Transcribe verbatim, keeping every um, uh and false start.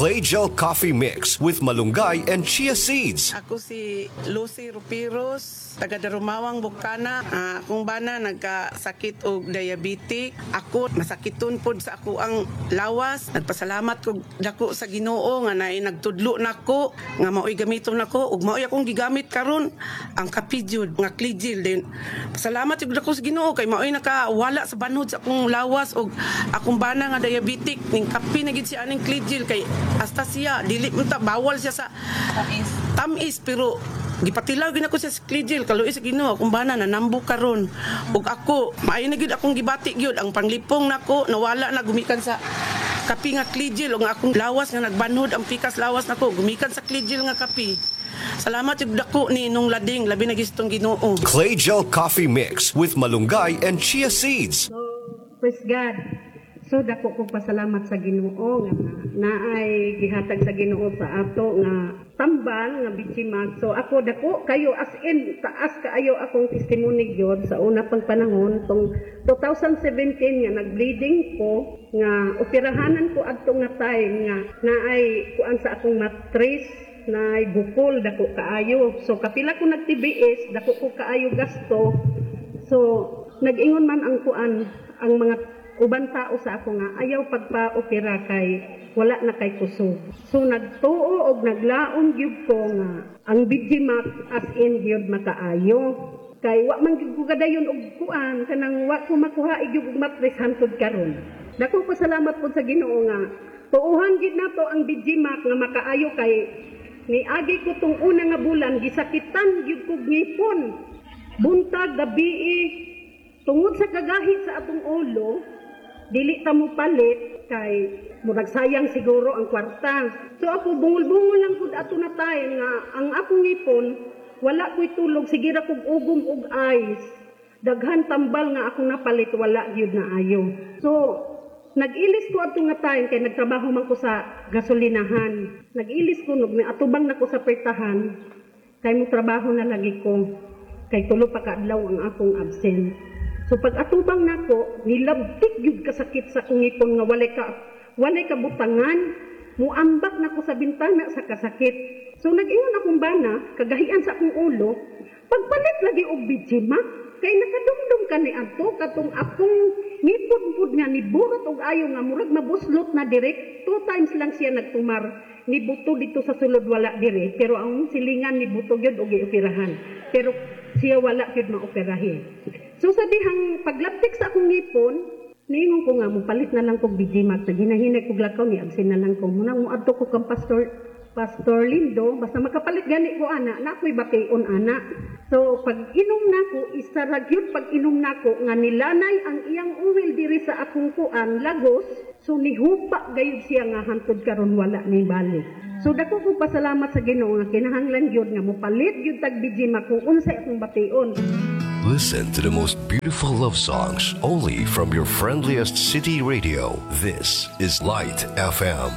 Clay Gel Coffee Mix with malunggay and chia seeds. Ako si Lucy Rupiros, taga Darumawang, Bukana. Ah, akong bana nagkasakit og diabetic. Ako masakiton pod sa ako ang lawas. Nagpasalamat ko dako sa Ginoo nga naay nagtudlo nako nga maoy gamiton nako ug maoy akong gigamit karon ang kape jud nga Clegil din. Pasalamat jud dako sa Ginoo kay maoy nakawala sa banhod sa akong lawas ug akong bana nga diabetic ning kape na gid siya aning Clegil kay hasta siya dili man ta bawal siya sa tamis pero gipatilaw gid ako siya sa Clegil kaluoy sa Ginoo akong bana nanambo karon ug ako maayo na gyud akong gibati gyud ang panglipong nako nawala na gumikan sa kape nga Clegil ug ang akong lawas nga nagbanhod ang pikas lawas nako gumikan sa Clegil nga kape Salamat jud dako ni nung lading labi na gistong Ginoo Clay Gel Coffee Mix with malunggay and chia seeds. So, praise God. So dako ko pasalamat sa Ginoo nga naay gihatag sa Ginoo sa ato nga tambal nga BGMax. So ako dako kayo as in taas kaayo akong testimony gyud sa una pang panahon tong twenty seventeen nga nagbleeding ko nga operahanan ko adto nga time nga naay kuan sa akong matris na bukol dako kaayo. So kapila ko nag T B S, dako ko kaayo gasto. So nag-ingon man ang kuan ang mga uban tao sa ako nga ayaw pagpa-opera kay wala na kay kusog. So nagtuo og naglaom gyud ko nga ang B G Max as in gyud makaayo. Kay wa man gyud ko kadayon og kuan kanang wa ko makuha gyud og matres hantod karon. Dako ko salamat pod sa Ginoo nga tuohan gyud nato ang B G Max nga makaayo kay niagi ko tong una nga bulan gisakitan gyud kog ngipon. Buntag, gabii, tungod sa kagahi sa atong ulo, dili ta mo palit kay murag sayang siguro ang kwarta. So ako bungol-bungol lang pud ato na time nga ang akong ngipon wala ko'y tulog, sige ra kog ugom og ice. Daghan tambal nga akong napalit, wala gyud na ayo. So nag-ilis ko adto nga time kay nagtrabaho man ko sa gasolinahan. Nag-ilis ko nog atubang nako sa pertahan kay mo trabaho na lagi ko kay tulo pa ka adlaw ang akong absent. So pag atubang nako, nilabtik gyud kasakit sa akong ngipon nga walay ka walay kabutangan, muambak nako sa bintana sa kasakit. So nag-ingon akong bana, kagahian sa akong ulo, pagpalit lagi og B G Max, kay nakadumdum ka ni adto katong akong ngipon pud nga niburot og ayo nga murag mabuslot na direct. Two times lang siya nagtumar ni buto dito sa sulod, wala dire, pero ang silingan ni buto gyud og gioperahan pero siya wala gyud maoperahi. So sa dihang paglabtik sa akong ngipon, niingon ko nga mopalit na lang kog B G Max. Naghinay-hinay kog lakaw ni absent na lang ko munang moadto ko kang Pastor Pastor Lindo, basta makapalit gani ko ana, na ako'y bation ana. So pag inom nako, isa ra gyud pag inom nako nga nilanay ang iyang oil diri sa akong kuan lagos, so nihupa gayud siya nga hantod karon wala ni balik. So dako ko pasalamat sa Ginoo nga kinahanglan gyud nga mopalit gyud tag B G Max kung unsay akong bation. Listen to the most beautiful love songs only from your friendliest city radio. This is Light F M.